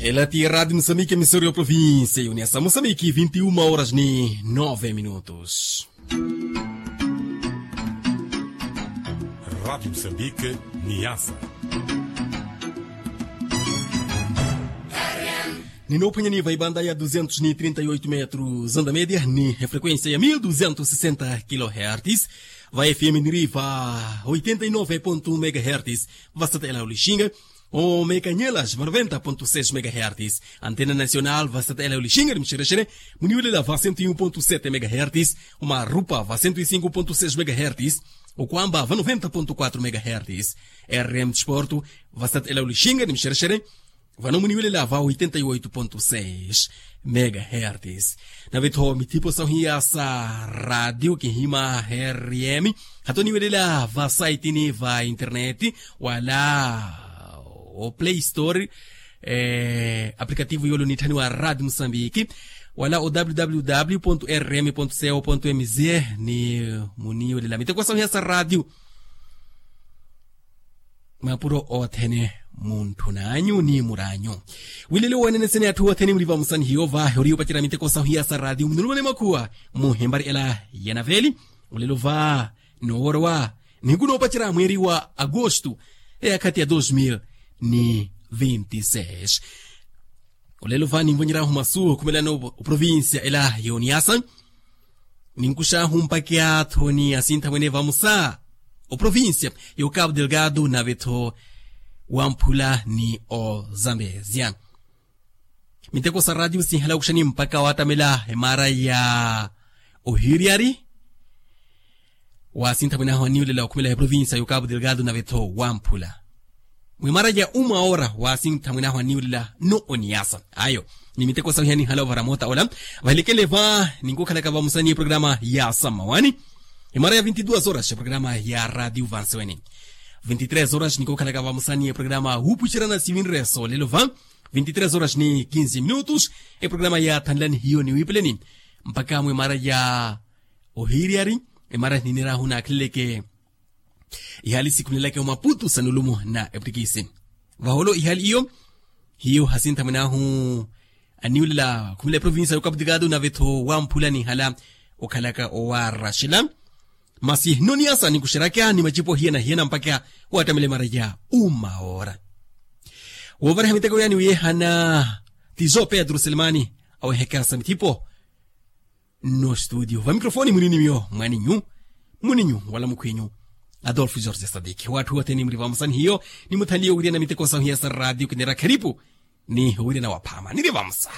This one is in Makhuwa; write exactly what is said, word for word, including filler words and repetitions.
Ela ti radio musambiki emisori ya provincia yuniasa musambiki vinti uma horas ni nove minutos. Radio musambiki niasa. Ninophwanyani va ibanda ya duzentos ni trinta e oito metros anda media ni efrequencia ya mil duzentos sesenta kilohertz. Va fm niri va oitenta e nove ponto um megahertz. Va satela ulixinga. O mekanyelas va noventa ponto seis megahertz. Antena nacional va satela ulixinga ni muxerexere. Muniwelela va cento e um ponto sete megahertz. O marupa va cento e cinco ponto seis megahertz. O kwamba va noventa ponto quatro megahertz. Rm desporto va satela ulixinga ni muxerexere. Vano muniwelela va oitenta e oito ponto seis megahertz. Nave tho mithipo sahuiya sa radio kihima rm. Hato niwelela va saitini va internet wala o play store, aplikativu yolo nitthaniwa radio musambiki wala o www rm co mz. Ni muniwelela miteko sahuiya sa radio. Mapuro othene muntthunanyu ni muranyu. Wilelo wanene sene atthu othene muli vamusani hiyo vahe ori yopacera miteko sahuiya sa radio munulumane makhuwa muhembari ela ya naveli. Ulelo va noworowa nihiku nopacera mweri wa agosto eyakhati ya dos mil ni vinti seis. Olelo va ninvonyeryahu masu okhumelana oprovincia ela yoniasa. Ninkuxahu mpakha athoni asintha mwene vamusa oprovincia y'okapu delgado nave-tho wamphula ni ozambezia. Miteko sa radio sinhala okuxani mpakha watamela emara ya ohiriari. Wasintha mwinahu aniwulela okhumela eprovincia y'okapu delgado nave-tho wamphula mwimara ya uma ora wasintha mwinahu aniwulela no oniyasa ayo. Ni miteko sawiha ninhala ovara mota ola vahilekele va ninkukhalaka vamusani eprograma ya sammawani. Imara ya vinti duas horas eprograma ya radio vanseweni. Vinti tres horas ninkukhalaka vamusani eprograma wupuxerana sivinreso lelo va vinti tres horas ni kinsi minutos. Eprograma ya thanlani hiyo ni wipeleni mpakha mwimara ya ohiriyari. Imara ninirahu nakhaleleke ihali sikhunelaka omaputu sa nulumo na eptikisi vaholo ihali iyo. Hiyo hasintha mwinahu aniwulela khumela eprovincia y'okapu delgado nave-tho wamphula nihala okhalaka owaraxela. Masi noniyasa nikuxeraka ni macipo hiyana hiyana mpakha watamela emara ya uma ora. Woovariha miteko yani wiyehana tizo pedro selemani aweheka sa mithipo. Nno studio va microfoni muninimiyo mwaninyu muninyu wala mukhwinyu adolfo jorge sadiki watthu othene muri vamusani hiyo. Nimuthanliye owiriyana miteko sahuiya sa radio kinera kheripu ni owiriyana waphama niri vamusa.